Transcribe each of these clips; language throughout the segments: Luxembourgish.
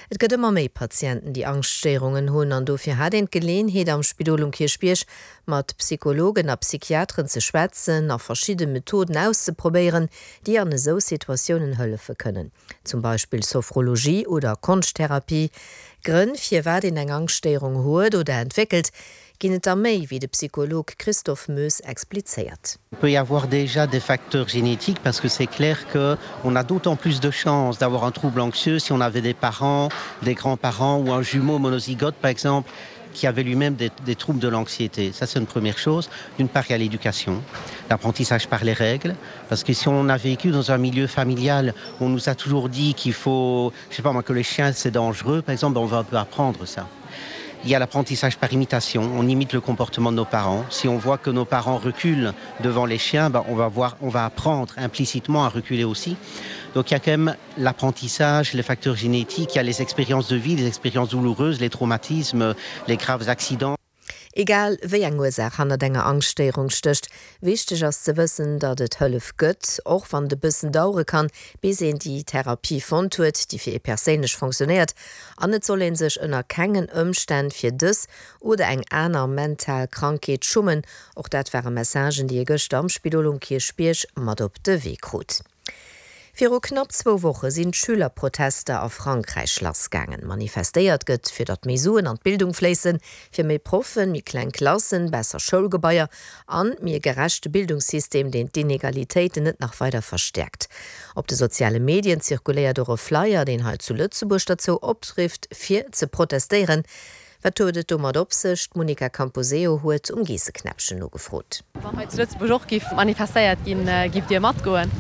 Et gëtt ëmmer méi Patienten, déi Angschtstéierungen hunn an dofir hat een d'Geleenheet am Spidol um Kierchbierg mat Psychologen a Psychiateren ze schwätzen a verschidde Methoden auszeprobéieren, déi an esou Situatiounen hëllefe kënnen. Zum Beispill Sophrologie oder Konschttherapie. Grënn firwat een eng Angschtstéierung huet oder entwéckelt, ginn et der méi, wéi de Psycholog Christophe Moes explizéiert. Il peut y avoir déjà des facteurs génétiques parce que c'est clair que on a d'autant plus de chances d'avoir un trouble anxieux si on avait des parents, des grands-parents ou un jumeau monozygote par exemple qui avait lui-même des, des troubles de l'anxiété. Ça c'est une première chose. D'une part il y a l'éducation, l'apprentissage par les règles parce que si on a vécu dans un milieu familial, on nous a toujours dit qu'il faut je sais pas moi que les chiens c'est dangereux par exemple, on va un peu apprendre ça. Il y a l'apprentissage par imitation, on imite le comportement de nos parents. Si on voit que nos parents reculent devant les chiens, ben on va voir on va apprendre implicitement à reculer aussi. Donc il y a quand même l'apprentissage, les facteurs génétiques, il y a les expériences de vie, les expériences douloureuses, les traumatismes, les graves accidents. Egal wéi eng Ursaach hannert enger Angschtstéierung stécht, wichteg ass ze wëssen, datt et Hëllef gëtt, och wann et e bëssen dauere kann, bis een déi Therapie fonnt huet, déi fir ee perséinlech fonctionnéiert. An et soll ee sech ënner kengen Ëmstänn fir dës oder eng aner mental Krankheet schummen. Och dat ware Messagen, déi ee gëschter am Spidol um Kierchbierg mat op de Wee krut. Viru knapp zwou Woche sinn d'Schülerprotester a Frankräich lassgaangen. Manifestéiert gëtt, fir datt méi Suen an d'Bildung fléissen, fir méi Proffen, méi kleng Klassen, besser Schoulgebaier an méi e gerechte Bildungssystem, deen d'Inegalitéiten net nach weider verstäerkt. Op de soziale Medien zirkuléiert och e Flyer, deen hei zu Lëtzebuerg derzou oprifft, fir ze protestéieren. Wat huet et domat op sech? D'Monica Camposeo huet um Geesseknäppchen nogefrot. Wann hei zu Lëtzebuerg och giff manifestéiert ginn, gifft Dir matgoen?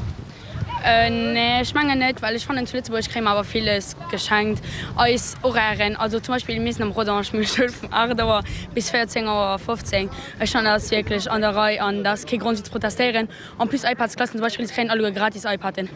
Nee, ech mengen net, well ech fannen zu Lëtzebuerg kréie mer awer villes geschenkt. Eis Horairen, also zum Beispill mir sinn am Rodange, mir hu Schoul vun 8 Auer bis 14 Auer 15. Ech fannen dat ass wierklech an der Rei an dat ass kee Grond fir ze protestéieren. En plus iPads-Klassen zum Beispill, se kréien alleguer gratis iPaden.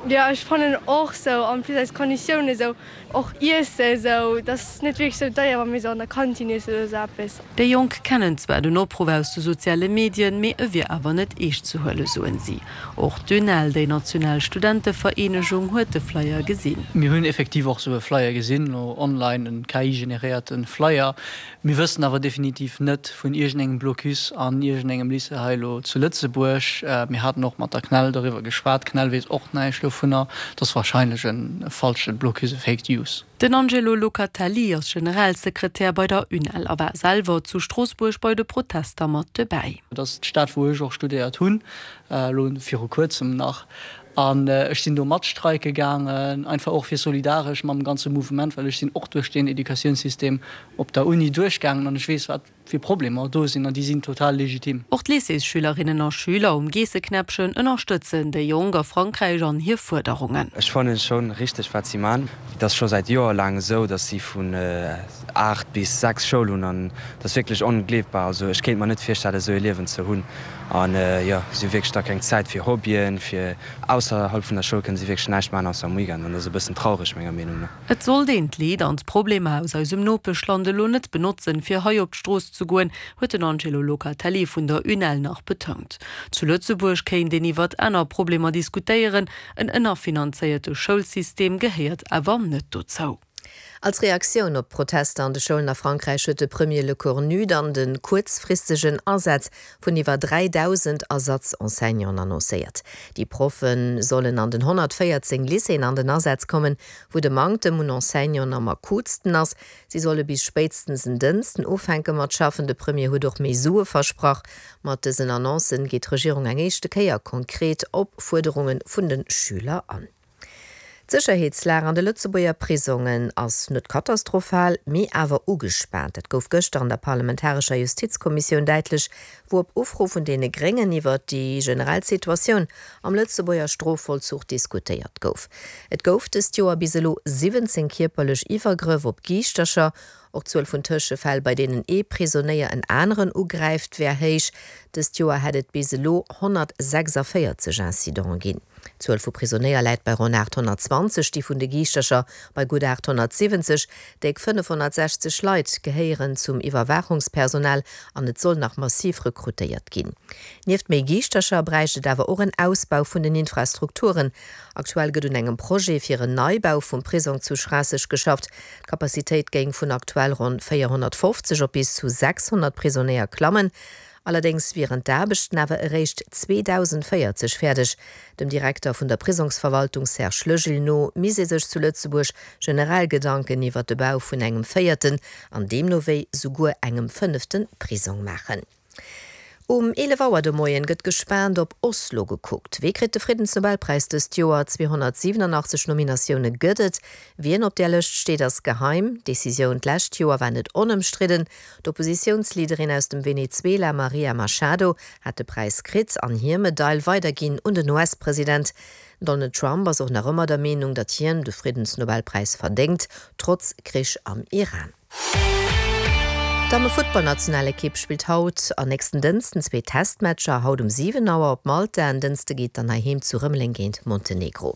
Jo, ech fannen och sou, en plus eis Konditiounen sou. Och Iesse esou, et ass net wierklech sou deier, wa mir sou an der Kantin iessen oder sou eppes. Déi Jonk kennen zwar den Opruff aus de soziale Medien, mee e wier awer net eescht ze huelen, soen si. Och d'UNEL, déi national Studentevereenegung, huet de Flyer gesinn. Mir hunn effektiv och sou e Flyer gesinn, elo online, en KI-generéierte Flyer. Mir wëssen awer definitiv net vun iergendengem Blocus an iergendengem Lycée hei elo zu Lëtzebuerg. Mir haten och mat der CNEL doriwwer geschwat. D'CNEL weess och näischt dovunner. Et ass wahrscheinlech e falsche Blocus, e Fake News. Den Angelo Locatelli ass Generalsekretär bei der UNEL a war selwer zu Stroossbuerg bei de Protester mat dobäi. Et ass d'Stad, wou ech och studéiert hunn, elo viru kuerzem nach. An ech sinn do mat streike gaangen, einfach och fir solidaresch mam ganze Mouvement, well ech sinn och duerch deen Educatiounssystem op der Uni duerchgaangen an ech weess, wat fir Problemer do sinn an déi sinn total legitim. Och d'Lycéesschülerinnen a Schüler um Geesseknäppchen ënnerstëtzen déi Jonk a Frankräich an hir Fuerderungen. Ech fannen schon richteg wat si man. Et ass scho säit Joer laang esou dass si vun 8 bis 6 Schoul hunn an et ass wierklech ongleefbar. Also ech kéint mer net virstellen esou ee Liewen ze hunn an jo si hu wierklech da keng Zäit fir Hobbyen, fir ausserhalb vun der Schoul kënne si wierklech näischt man ausser am Weekend an dat ass e bëssen traureg menger Meenung no. Et sollt een d'Leed an d'Problemer aus eisem Nopeschland elo net benotzen, fir hei op d'Strooss ze goen, huet den Angelo Locatelli vun der UNEL nach betount. Zu Lëtzebuerg kéint een iwwert aner Problemer diskutéieren, en ënnerfinanzéierte Schoulsystem gehéiert awer net dozou. Als Reaktioun op d'Protester an de Schoulen a Frankräich huet de Premier Lecornu dann de kuerzfristegen Asaz vun iwwer 3.000 Ersatz-Enseignanten annoncéiert. Déi Proffe sollen an den 114 Lycéeën an den Asaz kommen, wou de Manktem un Enseignanten am akutsten ass. Si solle bis spéitstens en Dënsten ufänke mat schaffen. De Premier huet och méi Sue versprach. Mat dësen Annoncen geet d'Regierung eng éischte Kéier konkret op Fuerderunge vun de Schüler an. D'Sécherheetslag an de Lëtzebuerger Prisongen ass net katastrophal, mee awer ugespaant. Dat gouf gëschter an der parlamentarescher Justizkommissioun däitlech, wou op Ufro vun deene Gréngen iwwert déi generell Situatioun am Lëtzebuerger Strofvollzuch diskutéiert gouf. Et gouf dëst Joer bis elo 17 kierperlech Iwwergrëff op Giischtercher. Och d'Zuel vun Tëschefäll, bei deenen ee Prisonéier en aneren ugräift, wär héich. Dëst Joer hätt et bis elo 146 Incidenten ginn. D'Zuel vu Prisonéier läit bei ronn 820, déi vun de Giischtercher bei gutt 870. Déck 560 Leit gehéieren zum Iwwerwaachungspersonal an et soll nach massiv rekrutéiert ginn. Nieft méi Giischtercher bräicht et awer och en Ausbau vun den Infrastrukturen. Aktuell gëtt un engem Projet fir en Neibau vum Prisong zu Schraasseg geschafft. D'Capacitéit géing vun aktuell ronn 450 op bis zu 600 Prisonéier klammen. Allerdéngs wieren d'Aarbechten awer eréischt 2040 fäerdeg. Dem Direkter vun der Prisongsverwaltung Serge Legil no misst ee sech zu Lëtzebuerg generell Gedanken iwwer de Bau vun engem véierten an deemno wéi souguer engem fënnefte Prisong maachen. Um 11 Auer de Moien gëtt gespaant op Oslo gekuckt. Wee kritt de Friddensnobelpräis dëst Joer? 287 Nominatioune gëtt et. Wien op där Lëscht steet, ass geheim. D'Decisioun d'lescht Joer war net onëmstridden. D'Oppositiounsleaderin aus dem Venezuela Maria Machado hat de Präis kritt an hir Medail weiderginn un den US-President. Donald Trump ass och nach ëmmer der Meenung, datt hien de Friddensnobelpräis verdéngt, trotz Krich am Iran. D'Damme-Futtballnationalekipp spillt haut an nächsten Dënsten zwee Testmatcher. Haut um 7 Auer op Malta, en Dënste geet dann heiheem zu Rëmeleng géint Montenegro.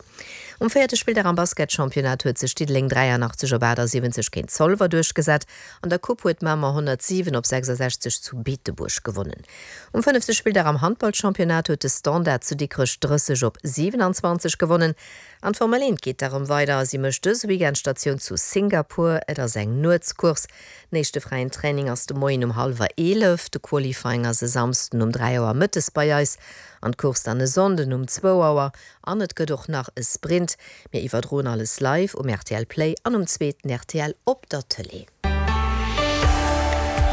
Um véierte Spilldag am Basketchampionnat huet sech Diddeleng 83 op 78 géint Zolwer duerchgesat. An der Coupe huet Mamer 107 op 66 zu Beetebuerg gewonnen. Um fënnefte Spilldag am Handballchampionnat huet de Standard zu Dikrech 30 op 27 gewonnen. An d'Formel 1 geet da rëm weider a si mécht dëse Weekend Statioun zu Singapur. Et ass eng Nuetscourse. Den éischte fräien Training ass de Moien um hallwer 11, de Qualifying ass e Samsden um 3 Auer mëttes bei eis an d'Course dann e Sonnden um zwou Auer. An et gëtt och nach e Sprint. Mir iwwerdroen alles live um rtl Play an um zweeten rtl op der Tëlee.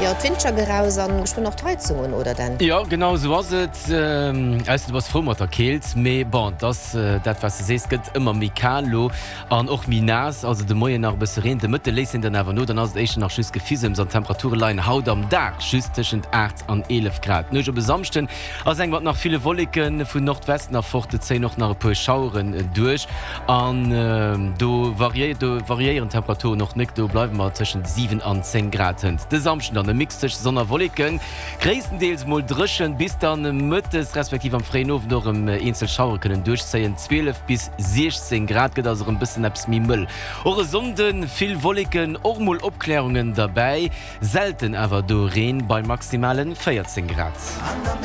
Jo, d'Windscher geraus an geschwënn och d'Heizung un, oder Dan? Jo, genau esou ass et. Ausser du bass frou mat der Keelt. Mee bon, et ass dat wat s de sees, gëtt ëmmer méi kal lo an och méi naass. Also de Moien nach e bësse Reen, de Mëtte léisst en dann awer no. Dann ass et éischter nach just Gefisems an d'Temperature leien haut am Dag just tëschent 8 an 11 Grad. D'Nuecht op e Samschden ass eng mat nach ville Wolleken, vun Nordwesten erfort zéien och nach e puer Schaueren duerch. An do variéieren d'Temperaturen och nik, do bleiwe mer tëschent 7 an 10 Grad. Hënt de Samschden dann e Mix tëscht Sonn a Wolleken, gréisstendeels mol dréchen, bis dann mëttes respektiv am fréien Owend och erëm eenzel Schauere kënnen duerchzéien. 12 bis 16 Grad, gëtt also erëm bëssen eppes méi mëll. Och e Sonnde vill Wolleken, och mol Opklärungen derbäi. Selten awer do Reen bei maximalen 14 Grad.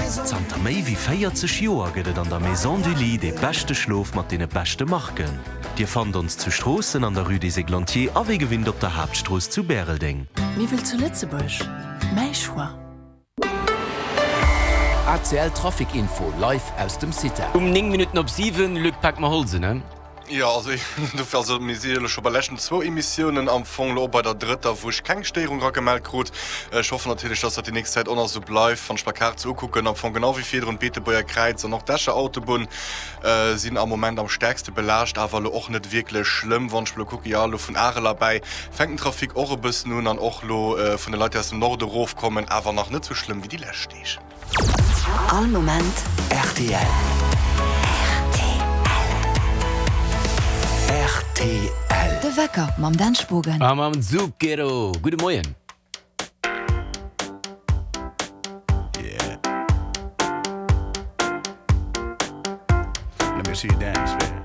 Zanter méi wéi 40 Joer gëtt et an der Maison du Lit dee beschte Schlof mat deene beschte Marken. Dir fannt ons zu Stroossen an der Rue des Églantiers a wéi gewinnt op der Haaptstrooss zu Bäreldeng. Miwwel zu Lëtzebuerg? Mäi Choix. ACL Trafic Info live aus dem CITA. Um 9 Minutten op 7, Luc, pak mer Holz un, he? Jo, also dofir, also mir si jo elo scho bei leschten zwou Emissiounen, am Fong elo och bei der drëtter, wou ech keng Stéierung eragemellt krut. Ech hoffen natierlech, dass dat déi nächst Zäit och nach esou bleift. Wann ech mer d'Kaart esou ukucken, am Fong genau wéi virdrun, d'Beetebuerger Kräiz an och d'Escher Autobunn sinn am Moment am stäerkste belaascht, awer elo och net wierklech schlëmm. Wann ech elo kucken, jo elo vun Arel erbäi fänkt den Trafic och e bëssen un an och elo vun de Leit, déi aus dem Norde erofkommen, awer nach net esou schlëmm wéi déi lescht Deeg. All Moment rtl. Rtl. De Wecker mam Dan Spogen. A mam Zucchero. Gudde Moien. Yeah. Let me see you dance, baby.